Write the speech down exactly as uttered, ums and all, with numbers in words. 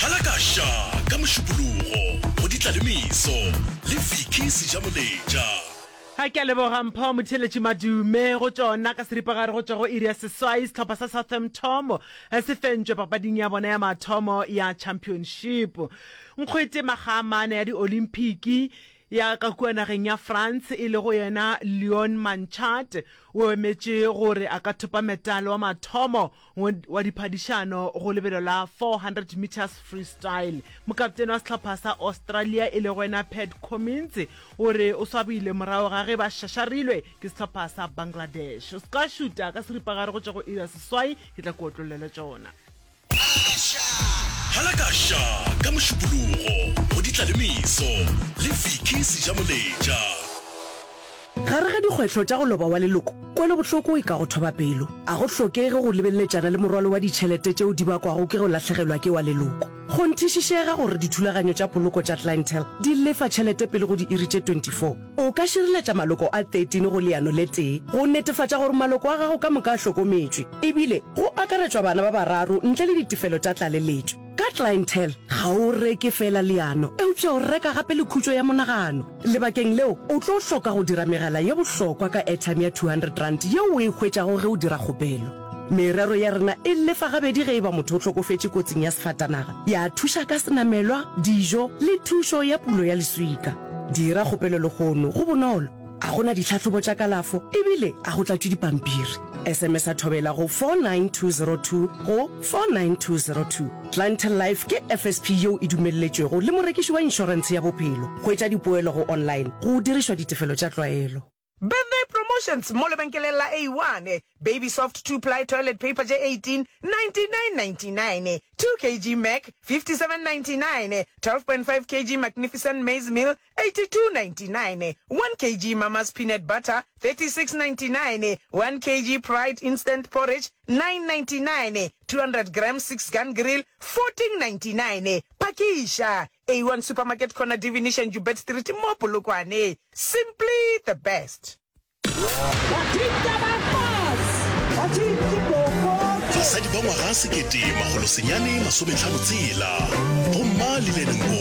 Halakaša ka Mošupologo go Ditlalemeso le Vicky Sejamoletša. Ga ke a leboga Mpho Motheeletši Madume go tšona ka seripagare go tšwa go iri ya seswai sehlopha sa Southampton se fentšwe papading ya bona ya mathomo ya Championship. Nkgwete makga a mane ya di-Olymphiki ya ka kua nageng ya France e lego yena Leon Manchard o emetše gore a ka thopa metale wa mathomo wa diphadišano go lebelo la four hundred metres freestyle. Mokaptene wa sehlopha sa Australia e lego yena Pat Cummins o re o swabile morago ga ge ba šašarilwe ke sehlopha sa Bangladesh. O se ka šuta ka seripagare go tšwa go iri ya seswai, ke tla ke otlollele tšona. Halakaša ka Mošupologo go Ditlalemeso le Vicky Sejamoletša. Gare ga dikgwetlho tša go loba wa leloko, kwelobohloko e ka go thoba pelo. A go hlokege go lebeletšana le morwalo wa ditšhelete tšeo di bakwago ke go lahlegelwa ke wa leloko. Kgonthišišega gore dithulaganyo tša poloko tša Clientele di lefa tšhelete pele go diiri tše twenty four O ka šireletša maloko a thirteen go leano le tee go netefatša gore maloko a gago ka moka a hlokometšwe, ebile go akaretšwa bana ba bararo ntle le ditefelo tša tlaleletšo. Ka Clientele, ga o reke feela leano, eupša o reka gape le khutšo ya monagano. Lebakeng leo, o tlo hloka go dira megala ye bohlokwa ka airtime ya two hundred rand yeo o e hwetšago ge o dira kgopelo. Merero ya rena e lefa gabedi ge e ba motho o hlokofetše kotsing ya sefatanaga, ya thuša ka senamelwa, dijo le thušo ya pulo ya leswika. Dira kgopelo lehono, go bonolo, a go na ditlhahlobo tša kalafo ebile a go tlatšwe dipampiri. S M S a Thobela go four nine two zero two go four nine two zero two. Clientele Life ke F S P yeo e dumelletšwego le morekiši wa inšorentshe ya bophelo. Hwetša dipoelo go online go dirišwa ditefelo tša tlwaelo. Birthday promotions mo lebenkeleng la A one, Baby Soft two ply toilet paper tše eighteen, ninety nine ninety nine, two kg Mac, fifty seven ninety nine, twelve point five kg Magnificent maize meal, eighty two ninety nine, one kg Mama's peanut butter, thirty six ninety nine, one kg Pride instant porridge, nine ninety nine, two hundred grams Six Gun Grill, fourteen ninety nine. Phakiša! A one Supermarket corner Divination Joubert Street mo Polokwane. Simply the best. Basadi ba ngwaga sekete makgolo senyane masometlhano tshela, Bomma Lillian Nkosi.